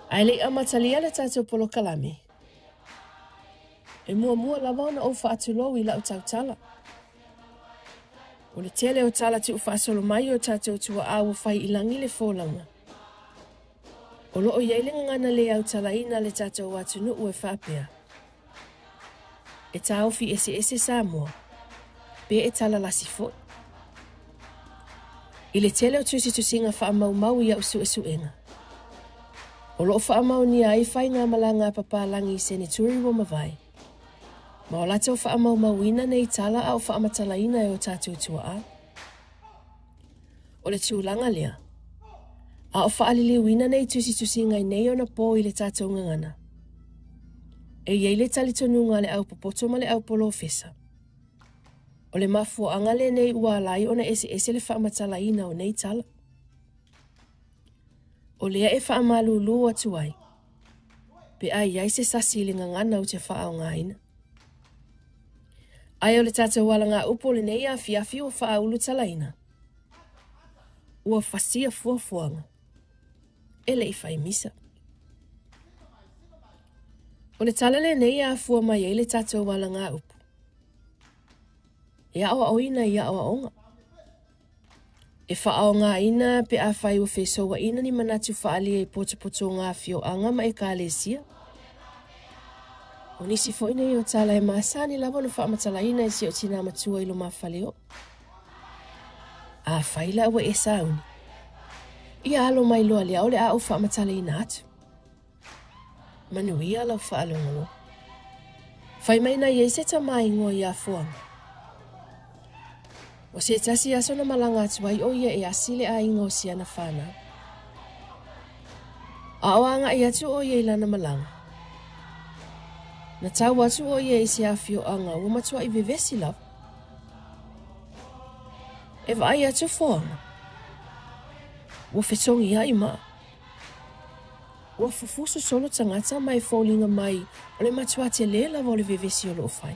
Ae le i amatalia le tatou polokalame, e muamua lava ona ou faatulou i lau tautala. O le tele o tala tuufaasolo mai o tatou tuaa ua fai i lagi le folauga. O lo o i ai le gagana le autalaina a le tatou atunuu e faapea, E taofi eseese Samoa, pe e talalasi foi. I le tele o tusitusiga faamaumau i au suesuega, o lo o faamaonia ai faigamalaga a papalagi i seneturi ua mavae, ma o latou faamaumauina nei tala a o faamatalaina e o tatou tuaa. O le tulaga lea, a o faaliliuina nei tusitusiga i nei ona po i le tatou gagana, e i ai le talitonuga a le aupopoto ma le aupolofesa, o le mafuaaga lenei ua ala ai ona eseese le faamatalaina o nei tala. O lea e faamalulu atu ai, pe a i ai se sasi i le gagana ou te faaaogaina. Ae o le tatou alagaupu o lenei afiafi ua faaulutalaina, ua fasia fuafuaga e le i fai misa. O le tala lenei e afua mai ai le tatou alagaupu, e aoaoina i aoaoga. E faaaogaina pe afai ua fesouaina ni manatu faaalia i potopotoga afioaga ma ekalesia. O nisi foi nei o tala e masani lava ona faamatalaina e si ou tinā matua i lumafale oʻu. Afai la ua e sauni, ia alo mai loa lea o le a ou faamatalaina atu. Manuia lau faalogologo. Fai mai na i ai se tama igoa ia Fuaga. O se tasi aso na malaga atu ai ʻo ia e asi le aiga o si ana fanau. A o agai atu ʻo ia i lana malaga, na tau atu ʻo ia i se afioaga ua matuai vevesi lava. E vaai atu Fuaga, ua fetogiai maa. Ua fufusu solo tagata ma e foliga mai o le matuā telē lava o le vevesi o lo o fai.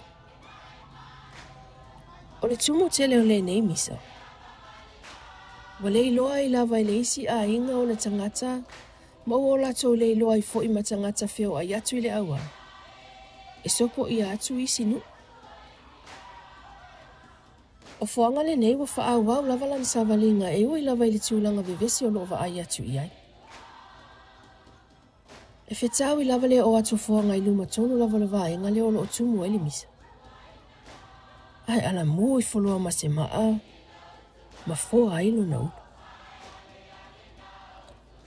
O le tumu tele o lenei misa, ua le iloa ai lava e le isi aiga ona tagata ma ua o latou le iloa ai foi ma tagata feoai atu i le auala e sopoia atu isi nuu. O Fuaga lenei ua faaauau lava lana savaliga e ui lava i le tulaga vevesi o lo o vaai atu i ai. E fetaui lava le oo atu o Fuaga i luma tonu lava o le vaega lea o lo o tumu ai le misa. Ae alamu ifo loa ma se maa ma foa ai lona ulu.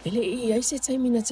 E le i i ai se taimi na